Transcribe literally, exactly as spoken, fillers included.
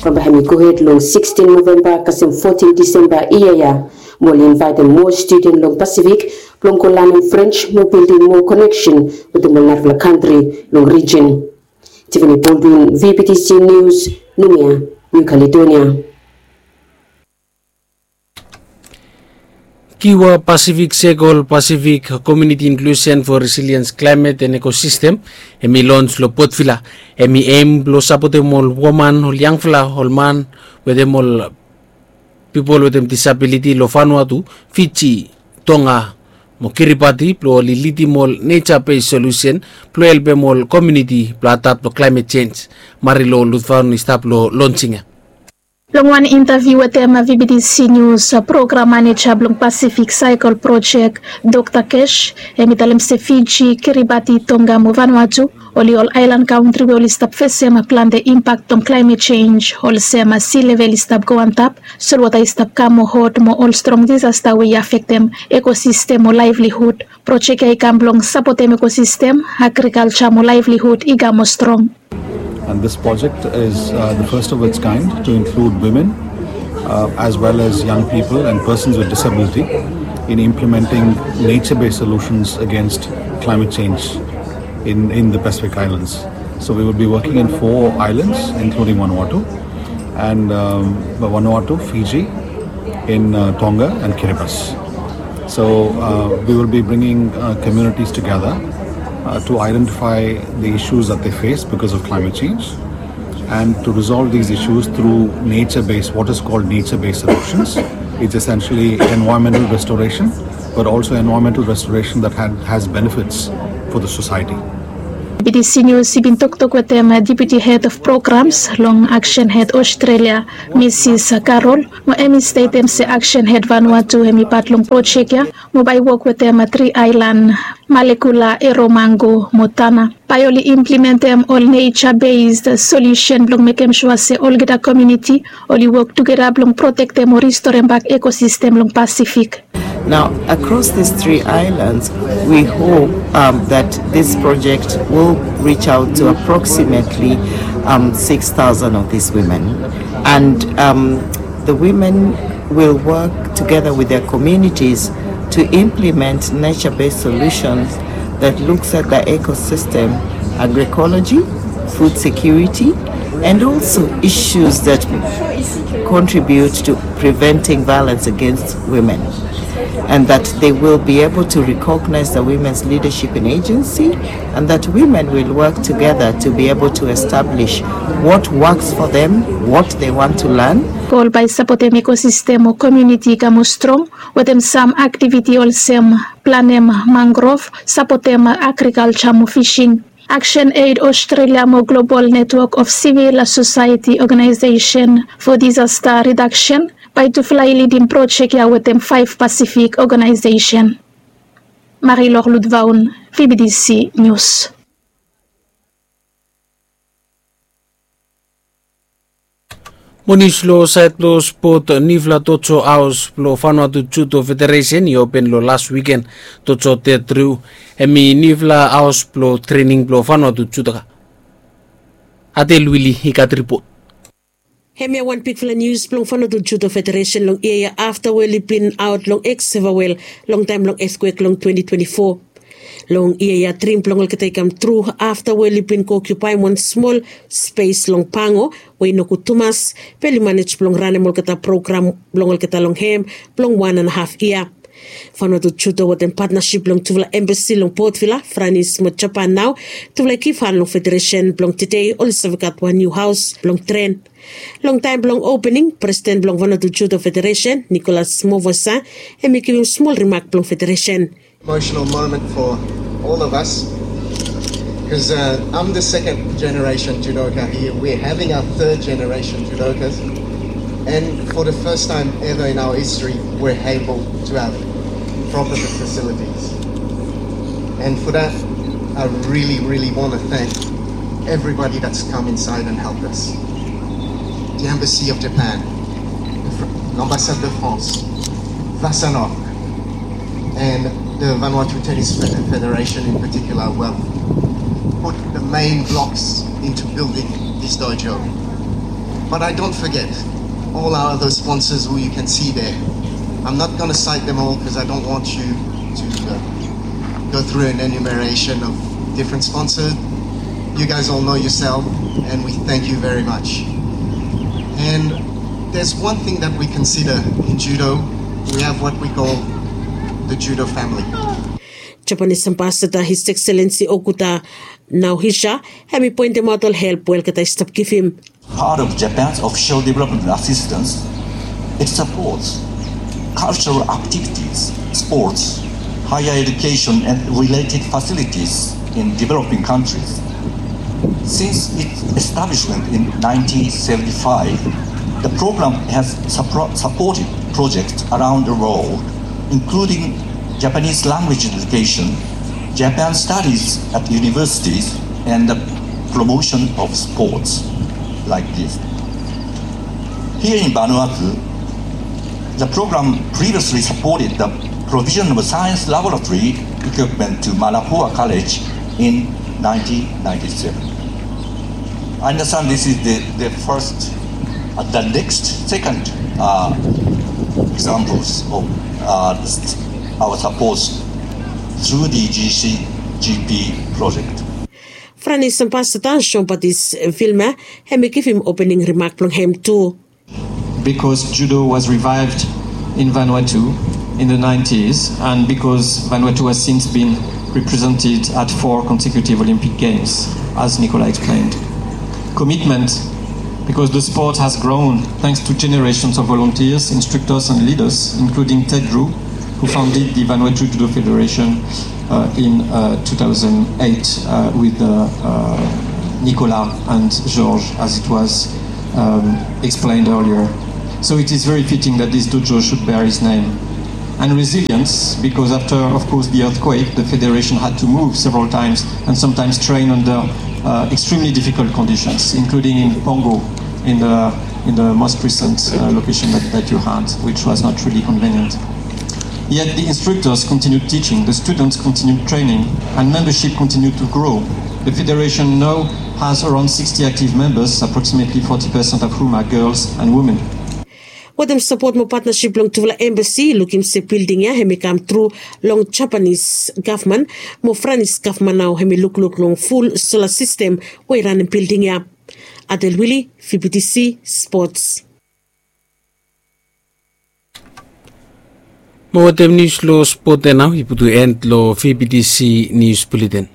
Bambae hem i gohed long sikstin Novemba kasem fotin Disemba yia ya. Mo oli invaetem moa studen long Pasifik blong go lanem French mo bildim moa koneksen wetem ol narafala kantri long rijin. Tiffany Baldwin, V B T C News, Noumea, New Caledonia. Kiwa Pacific Circle, Pacific Community Inclusion for Resilience Climate and Ecosystem, hem i lons long Port Vila. Hem i aim blong sapotem ol woman, ol yangfala, ol man wetem ol pipol wetem disabiliti long Vanuatu, Fiji, Tonga mo Kiribati blong oli lidim ol nature based solution blong helpem ol komuniti blong adapt long climate change. Marilo Lutvaun i stap long lonsing ya. Long wan intaviu wetem V B T C News, program maneja blong Pacific Circle Project, Dokta Kesh, hem i talem se Fiji, Kiribati, Tonga mo Vanuatu oli ol aelan kantri we oli stap fesem plante impak long climate change, olsem si level i stap go antap, solwota i stap kam mo hot mo ol strong disasta we i afektem ekosistem mo laevlihud. Projek ya i kam blong sapotem ekosistem, agrikalja mo laevlihud i kam mo strong. And this project is uh, the first of its kind to include women uh, as well as young people and persons with disability in implementing nature based solutions against climate change in, in the Pacific Islands. So we will be working in four islands, including Vanuatu, and um, Vanuatu, Fiji, in uh, Tonga, and Kiribati. So uh, we will be bringing uh, communities together uh, to identify the issues that they face because of climate change and to resolve these issues through nature based, what is called nature based solutions. It's essentially environmental restoration, but also environmental restoration that had, has benefits for the society. B T C News i bin toktok wetem Deputy Head of Programs long Action Aid Australia, Mrs Carol, mo hem i stetem se Action Aid Vanuatu hem i pat long projek ya mo bae i wok wetem tri aelan, Malekula, Eromango mo Tanna. Bae oli implementem ol nature based solution blong mekem sua se olgeta komuniti oli wok tugeta blong protektem o ristorem bak ekosistem long Pasifik. Now, across these three islands, we hope um, that this project will reach out to approximately um, six thousand of these women. And um, the women will work together with their communities to implement nature based solutions that looks at the ecosystem, agroecology, food security, and also issues that contribute to preventing violence against women, and that they will be able to recognize the women's leadership in agency, and that women will work together to be able to establish what works for them, what they want to learn. Gol bae i sapotem ekosistem o komuniti i kam o strong wetem sam aktiviti olsem planem mangrov, sapotem agrikalja mo fising. Action Aid Australia mo Global Network of Civil Society Organization for Disaster Reduction bae tufala i lidim projek ya wetem faef Pasifik organization. Marilor Lutvaun, V B T C News. Mo nius long saed blong spot, niufala Tojo Haos blong Vanuatu Judo Federation i open long las wiken. Tojo Teatriu, hem i niufala haos blong trening blong Vanuatu Judoka. Adel Wili i gat ripot. Hemia wan bigfala nius blong Vanuatu Judo Federation long yia ya afta we oli bin aot long eksevawel long taem blong ethkwek long twenti twenti fo. Long yia ya drim blong olgeta i kam tru afta we oli bin go okiupaem wan smol spes long Pango we i no gud tumas, be oli manej blong ranem olgeta program blong olgeta long hem blong wan and a haf yia. Vanuatu Judo wetem patnasip blong tufala embasi long Port Vila, Franis mo Japan nao, tufala i givhan long federesen blong tede oli save gat wan niu haos blong tren. Long taem blong opening, presiden blong Vanuatu Judo Federesen, Nicholas Movosa, hem i givim smol rimak blong federesen. Emotional moment for all of us because uh, I'm the second generation judoka here. We're having our third generation judokas, and for the first time ever in our history, we're able to have proper facilities. And for that, I really, really want to thank everybody that's come inside and helped us. The Embassy of Japan, the Fr- l'Ambassade de France, Vasanok, and the Vanuatu Tennis Fe- Federation in particular, well, put the main blocks into building this dojo. But I don't forget all our other sponsors who you can see there. I'm not going to cite them all because I don't want you to uh, go through an enumeration of different sponsors. You guys all know yourself, and we thank you very much. And there's one thing that we consider in judo. We have what we call the judo family. Japanese Ambassador His Excellency Okuda Naohisa hemi pointemaot ol help we olgeta i stap givim. Part of Japan's official development assistance, it supports cultural activities, sports, higher education and related facilities in developing countries. Since its establishment in nineteen seventy-five, the program has suppro- supported projects around the world, including Japanese language education, Japan studies at universities, and the promotion of sports like this. Here in Vanuatu, the program previously supported the provision of a science laboratory equipment to Manapua College in nineteen ninety-seven. I understand this is the, the first, uh, the next, second uh, examples of uh, our support through the G C G P project. Franis Ambassador Jean-Baptiste Vilma hemi givim opening remark blong hem tu. Because judo was revived in Vanuatu in the nineties, and because Vanuatu has since been represented at four consecutive Olympic Games, as Nicola explained. Commitment, because the sport has grown thanks to generations of volunteers, instructors, and leaders, including Ted Drew, who founded the Vanuatu Judo Federation uh, in uh, two thousand eight uh, with uh, uh, Nicolas and Georges, as it was um, explained earlier. So it is very fitting that this dojo should bear his name. And resilience, because after, of course, the earthquake, the Federation had to move several times and sometimes train under uh, extremely difficult conditions, including in Pongo, in the, in the most recent uh, location that, that you had, which was not really convenient. Yet the instructors continued teaching, the students continued training, and membership continued to grow. The federation now has around sixty active members, approximately forty percent of whom are girls and women. Wetem sapot mo patnasip blong tufala embasi i lukim se bilding ya hemi kam tru long Japanese gavman, mo Franis gavman nao hemi lukluk long ful sola sistem we i ranem bilding ya. Adel Wili, V B T C Sports. Mo wetem nius long spot ya nao i putum en long V B T C Nius Bulletin.